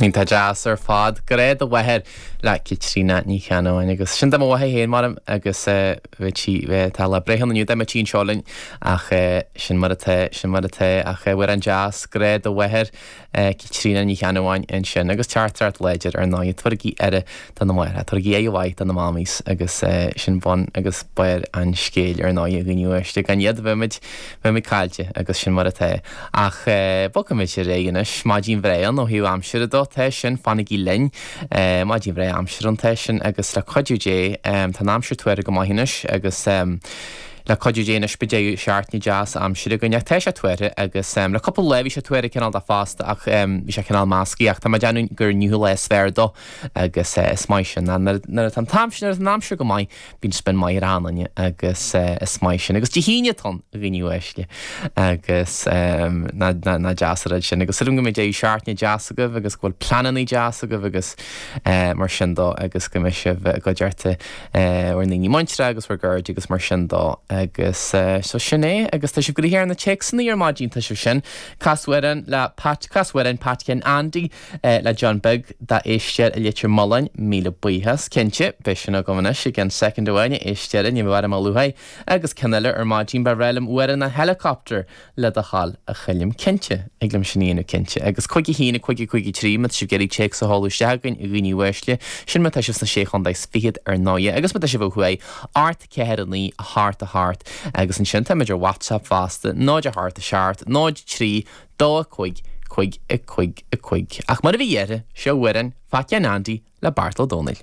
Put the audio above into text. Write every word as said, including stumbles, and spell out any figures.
Iontach deas ar fad Grá do Mháthair le Caitríona Ní Cheannabháin agus sin do mo mháthair féin mar agus bhí tá lá breithe inniu dá mbeadh sí anseo linn ach sin mar atá sin mar atá ach amhrán deas Grá do Mháthair Caitríona Ní Cheannabháin ansin agus teachtaireacht láidir ar ndóigh tabhairigí aire do na máithreacha, tabhairigí aire mhaith do na mammies agus sin bun agus barr an scéil ar ndóigh a dhaoine uaisle gan iad bheimid bheimid caillte agus sin mar atá. Ach bogfaimid ar aghaidh anois maidin bhreá ó thaobh aimsire dó tá sin fanaigí linn maidin bhreá aimsire an tá sin agus le cuidiú Dé tá an aimsir tuartha go maith anois agus le cuidiú Dé anois beidh deireadh seachtaine deas aimsire againn ach tá sé tuartha agus le cúpla lá bhí sé tuartha cineál de fosta ach bhí sé cineál measctha ach tá mé ag déanamh gur inniu lá is fearr dó agus is maith sin nuair atá an t-aimsir nuair atá an aimsir go maith bíonn spion maith ar achan duine agus is maith sin agus Dé hAoine atá ann a dhaoine uaisle agus nach deas an rud sin agus sílim go mbeidh deireadh seachtaine deas agaibh agus go bhfuil pleananna deas agaibh agus mar sin dó agus go mbeidh sibh i gcuideachta bhur ndaoine muinteartha agus bhur gcairde agus mar sin dó agus so sin é agus tá sibh gnoitheach ar na téacsanna ar maidin tá sibh sin Cas amhrán le Pat cas amhrán Pat Ken Andy le John Beag dá éisteoir i Leitir Mealláin míle buíochas cinnte beidh sin agam anois i gceann soicind amháin a éisteoir ní bheidh orm a luaithe agus ceann eile ar maidin ba bhreá liom amhrán na Helicopter le do thoil a Choilm cinnte ag liom sin a dhéanamh cinnte agus cúig a haon a cúig a cúig a trí má tá sibh ag iarraidh téacs a sheoladh isteach againn a dhaoine uaisle sin má tá sibh sna sé chontae is fichead ar ndóigh agus má tá sibh ó thuaidh ocht ceathair a naoi a hocht a hocht agus ansin táimid ar WhatsApp fosta náid a hocht a seacht náid trí dó a cúig cúig a cúig a cúig. Ach mar a bhí dheireadh seo amhrán Phat Andy le Beairtle Ó Domhnaill.